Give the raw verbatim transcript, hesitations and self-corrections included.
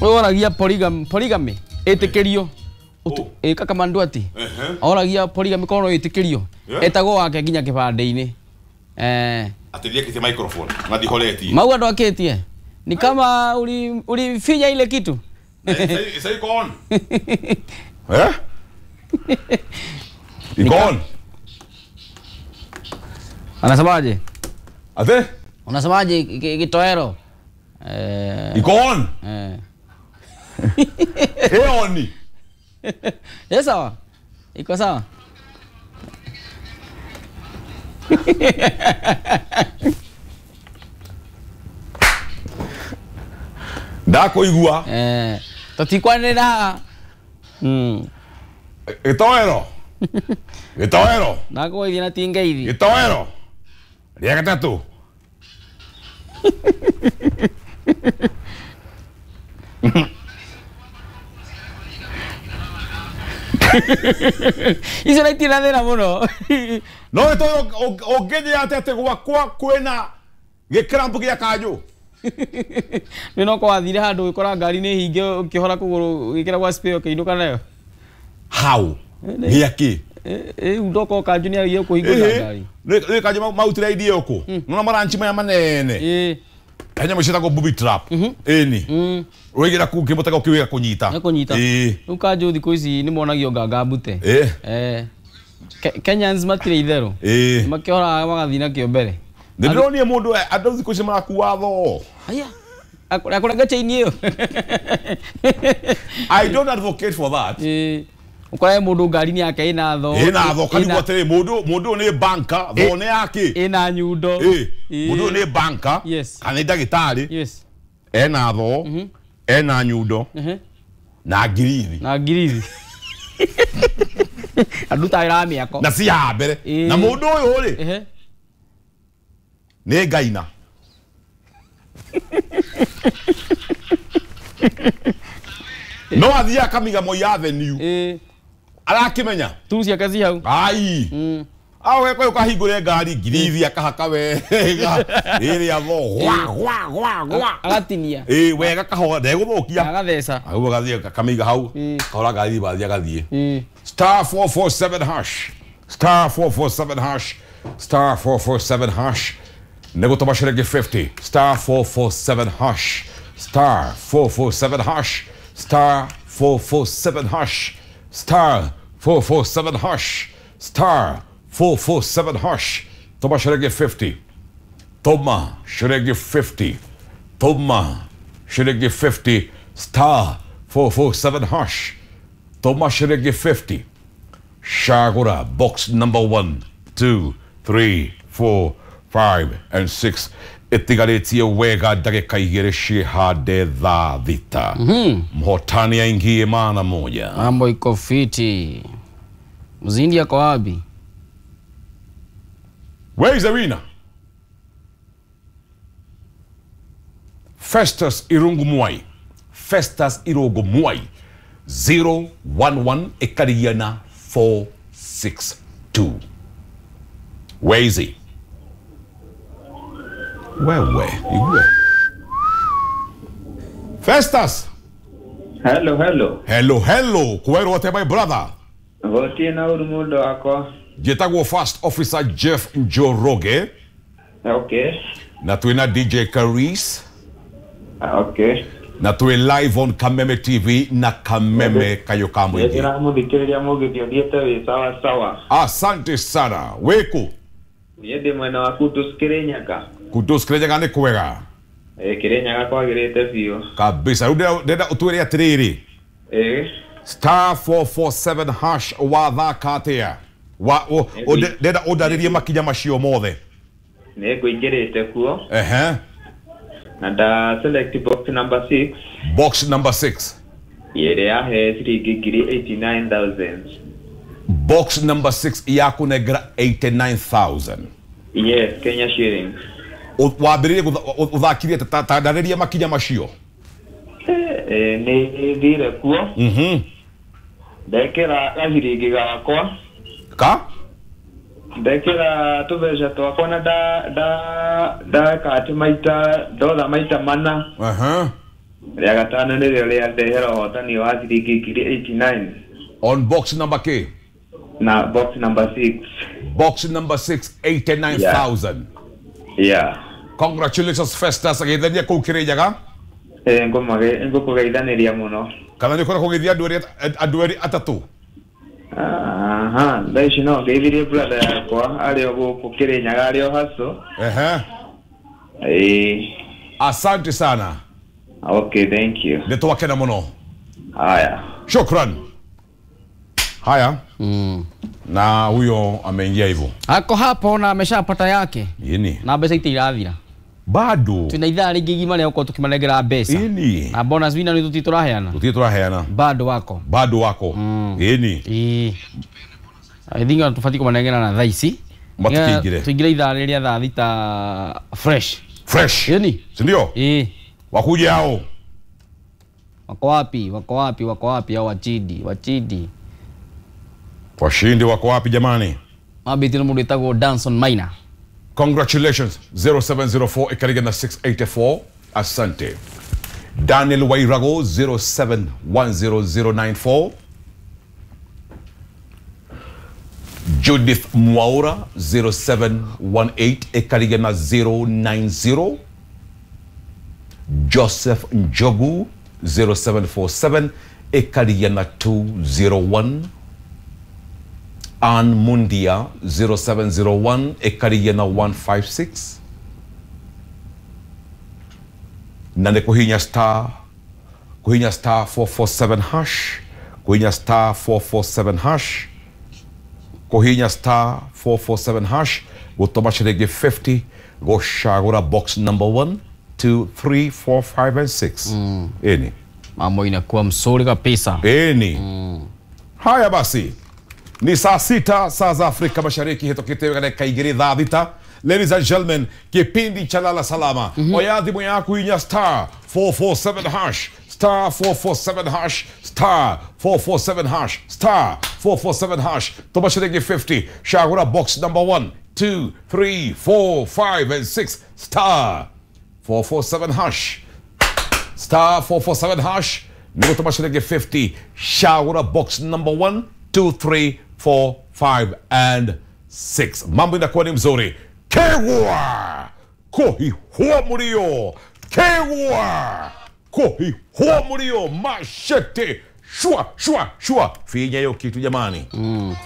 Oragia polygamy polygamy ĩtĩkĩrio. Ĩ kakamandu ati. Oragia polygamy kono ĩtĩkĩrio. Etagwo wake nginya kĩbandĩ-inĩ. Eh. Atithia kiti microphone na ndihoretie. Mau andũ akĩtie. Ni kama uli ulifinya ile kitu. Sasa iko on. Eh? Iko on. Anasemaje? Ate? Unasemaje kitoero? Eh. Iko on. Eh. Eh oni. Eh sawa. Iko sawa. Ndakuigua. Eh, tutikwanĩrĩra. Mm. Gĩtoero. Gĩtoero. Ndakũgeithia na ti ngeithi. Gĩtoero. Rĩa gatatũ. Icio na itirĩ na thĩna mũno. No gĩtoero ũngĩnjĩra atĩ atĩ gwakwa kwĩna gĩkramp gĩa kanjũ. Nĩ no kwathire handũ ũgĩkora ngari nĩ hinge ũkĩhora kũgũrũ ũgĩkĩra gwa spare ũkĩinũka nayo. How? Gĩa kĩ? Rĩu ndoka kanjũ nĩ aragia kũhingũra ngari. Rĩ kanjũ mautire idea ũkũ. Nona maranchi maya manene. Ĩĩ. He nyamũ ciĩtagwo booby trap. Ĩni. Ũraigĩra kũu kĩmũtego kĩu gĩgakũnyita. Gĩkũnyita. Ĩĩ. Rĩu kanjũ thikũ ici nĩ monagio nganga mbute. Ĩĩ. Eh. Kenyans matirĩ itherũ. Ĩĩ. Makĩhoraga magathiĩ nakĩo mbere. Nĩ ndĩronire mũndũ andũ thikũ ici marakua thoo. Haya. Akũrenga chain ĩyo. I don't advocate for that. Ĩĩ. Ũkore mũndũ ngari-inĩ yake ĩna thoo. Ĩna thoo kanigwo atĩrĩ mũndũ mũndũ nĩ banka thoo nĩ yake. Ĩna nyundo. Ĩĩ. Mũndũ nĩ banka. Yes. Kana nĩ ndagĩtarĩ. Yes. Ena thoo. Ena nyundo. Na ngirithi. Na ngirithi. Andũ ta wĩra wa mĩako. Na ci haha mbere. Na mũndũ ũyũ rĩ. Nĩ ngaina. No athiĩ akamiga Moi Avenue. Ĩĩ. Arakĩmenya. Tu ciake ci hau. Ai. Awe kwa ukahingũre ngari ngirithi akahaka wega. Ĩrĩa thoo gwa gwa gwa gwa. Agatinia. Ĩĩ wega kahora ndegũthũkia. Agatheca. Aguo agathiĩ akamĩiga hau. Kahora ngari bathiĩ agathiĩ. Ĩĩ. Star four four seven hash. Star four four seven hash. Star four four seven hash. Nĩgũtũma ciringi fifty. Star four four seven hash. Star four four seven hash. Star four four seven hash. Star four four seven hash. Star four four seven hash. Tũma ciringi fifty. Tũma ciringi fifty. Tũma ciringi fifty. Star four four seven hash. Tũma ciringi fifty. Cagũra box number one, two, three, four, five and six. Ĩtigarĩtie wega ndagĩka igĩrĩ ciĩhande thaa thita. Mhotani aingie maana moja. Mambo iko fiti. Mzindi ako wapi? Where is the winner? Festus Irungu Mwai. Festus Irungu Mwai. zero one one ĩkarigia four six two. Where is he? Wewe, igue. Festus. Hello, hello. Hello, hello. Kwero ate my brother. Gũtirĩ na ũru mũndũ wakwa. Njĩtagwo First Officer Jeff Njoroge. Okay. Na twĩna D J Caris. Okay. Na twĩ live on Kameme T V na Kameme Kayo ka Mũingĩ. Ndĩramũthikĩrĩria mũgĩthiĩ ũthiĩte wĩ sawa sawa. Asante sana. Wĩkũ? Niĩ ndĩ mwena wa Kutus Kĩrĩnyaga. Kutus Kĩrĩnyaga nĩ kwega. Ĩĩ Kĩrĩnyaga kwagĩrĩte biũ. Kabisa. Rĩu ndĩrenda ũtwĩre atĩrĩrĩ. Ĩĩ. Star four four seven hash wathaka atĩa? Wa ndĩrenda ũndarĩrie makinya macio mothe. Nĩ ngũingĩrĩte kuo. Ehe. Na nda select box number six. Box number six. Ĩrĩa yahe ciringi ngiri eighty-nine thousand. Box number six yakũnengera eighty-nine thousand. Yes, Kenya shillings. Wambĩrĩrie ũthakirie ta ndarĩria makinya macio. Eh, nĩ thire kuo. Mhm. Ndekĩra gaciringi gakwa. Ka? Ndekĩra tũbeca twakwa na nda nda ndeka atĩ maita ndotha maita mana. Aha. Rĩa gatano nĩrĩo rĩandehera ũhotani wa ciringi ngiri eighty-nine. On box number K. Na box number six. Box number six, eighty-nine thousand. Yeah. Yeah. Congratulations Festus, agithania kuu Kirinyaga. Eh, ngũmage ngũkũgeithaniria mũno. Kana nĩ ũkoragwo ũgĩthiĩ andũ erĩ andũ erĩ atatũ? Aha, thaa ici no ngeithirie brother yakwa arĩ o gũkũ Kirinyaga arĩ o haco. Ehe. Ĩĩ. Asante sana. Okay, thank you. Nĩ twakena mũno. Haya. Shukran. Haya. Mm. Na huyo ameingia hivyo. Ako hapo na ameshapata yake. Yini. Na mbeca itirathira. Bado. Twina ithaa rĩngĩ igima rĩa gũkorwo tũkĩmanengera mbeca. Ini. Na bonus winner nĩ tũthiĩ tũraheana. Tũthiĩ tũraheana. Bado wako. Bado wako. Mm. Ini. Ĩĩ. I think tũbatiĩ kũmanengera na thaa ici. Matikĩingĩre. Tũingĩre ithaa rĩrĩa thaa thita fresh. Fresh. Yeni. Si ndio? Ĩĩ. Wakuje hao. Wako wapi? Wako wapi? Wako wapi hao wachidi? Wachidi. Washindi wako wapi jamani? Mabiti no mũndũ wĩtagwo Danson Maina. Congratulations. zero seven zero four ikariga na six eight four. Asante. Daniel Wairago zero seven one zero zero nine four. Judith Mwaura zero seven one eight ikariga na zero nine zero. Joseph Njogu zero seven four seven ikariga na two zero one. Ann Mundia zero seven zero one ikariga na one five six. Na nĩ kũhihinya star kũhihinya star four four seven hash, kũhihinya star four four seven hash, kũhihinya star four four seven hash, gũtũma ciringi fifty, gũcagũra box number one, two, three, four, five and six. Mm. Eni. Mambo inakuwa mzuri kabisa. Eni. Mm. Haya basi. Ni saa sita saa za Afrika Mashariki, hitokite dakika igĩrĩ thaa thita. Ladies and gentlemen, kipindi cha Lala Salama. Mm -hmm. Oya thimũ yaku inya star four four seven hash, star four four seven hash, star four four seven hash, star four four seven hash. Tũma ciringi fifty, cagũra box number one, two, three, four, five and six, star four four seven hash, star four four seven hash. Nĩ gũtũma ciringi fifty, cagũra box number one, two, three, four, five and six. Mambo inakuwa ni mzuri. Kegwa kohihua murio, kegwa kohihua murio, mashete shua shua shua. Finya hiyo kitu jamani. Mm.